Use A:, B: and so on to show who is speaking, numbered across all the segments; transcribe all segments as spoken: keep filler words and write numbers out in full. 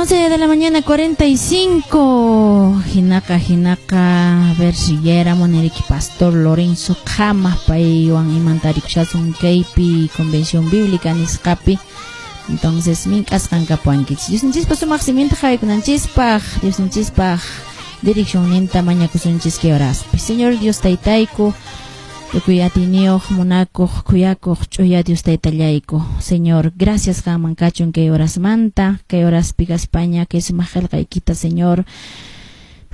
A: once de la mañana cuarenta y cinco. Hinaqa, hinaqa, a ver si ya Moneriqui Pastor Lorenzo Kama paywan imantarikushaswan kaypi Convención Bíblica nisqapi. Entonces, mink'asqan kapuwankichis. Diosninchispaq sumaq siminta qhawaykunanchispaq, Diosninchispaq direccionninta mañakusunchis kay horaspi. Señor Dios Taytayku, tukuy atiyniyuq, munakuq, khuyakuq, ch'uya Dios Taytallayku. Señor, gracias qanman kachun kay horasmanta, kay horaspi kaspaña, kay sumaq qillqaykita, Señor,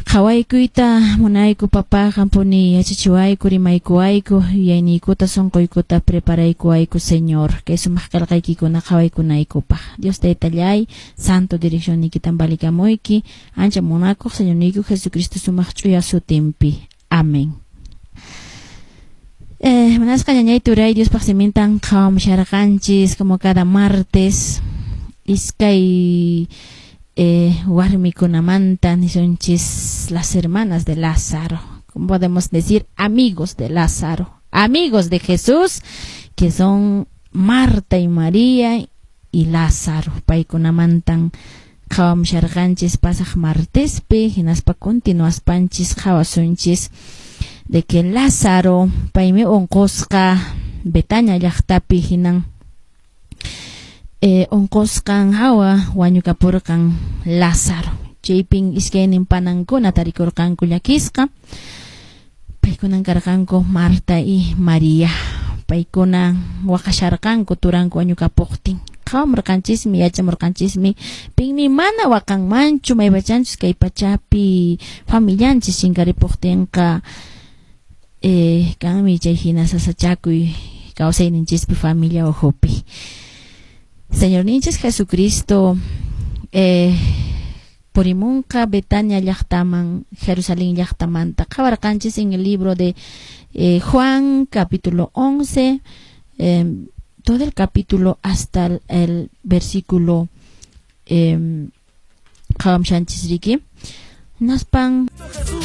A: qhawaykuyta munayku, papá, qampuni yachachiwayku, rimaykuwayku, yuyayniykuta, sunquykuta preparaykuwayku, Señor, kay sumaq qillqaykikuna qhawaykunaykupaq. Dios Taytallay, santo direccionniykitan valikamuyki, ancha munakuq Señorniyku Jesucristo sumaq ch'uya sutinpi. Amén. Eh, munasqa ñañay turay, Diospaq simintan qhawamusharqanchis como cada martes iskay eh, warmikunamanta, nisunchis las hermanas de Lázaro, como podemos decir, amigos de Lázaro, amigos de Jesús, que son Marta y María y Lázaro. Paykunamantan qhawamusharqanchis pasaq martespi, hinaspa continuaspanchis qhawasunchis de que Lázaro paymi unqusqa Betania llaqtapi, hinan eh, unqusqan hawa wañukapurqan Lázaro. Chaypin iskaynin panankuna tarikurqanku llakisqa. Paykunan karqanku Marta y María. Paykuna waqasharqanku turanku wañukapuqtin. Qhawamurqanchismi, yachamurqanchismi, pinmi mana waqanmanchu maypachanchus kay pachapi familianchis chinkaripuqtinqa, eh, kanmi chay hina sasachakuy kawsayninchispi, familia ukhupi. Señorninchis Jesucristo eh, purimunqa Betania llaqtaman Jerusalén llaqtamanta. Qhawarqanchis en el libro de eh, Juan capítulo once, eh, todo el capítulo hasta el, el versículo eh, qhawamushanchis riki. Hinaspan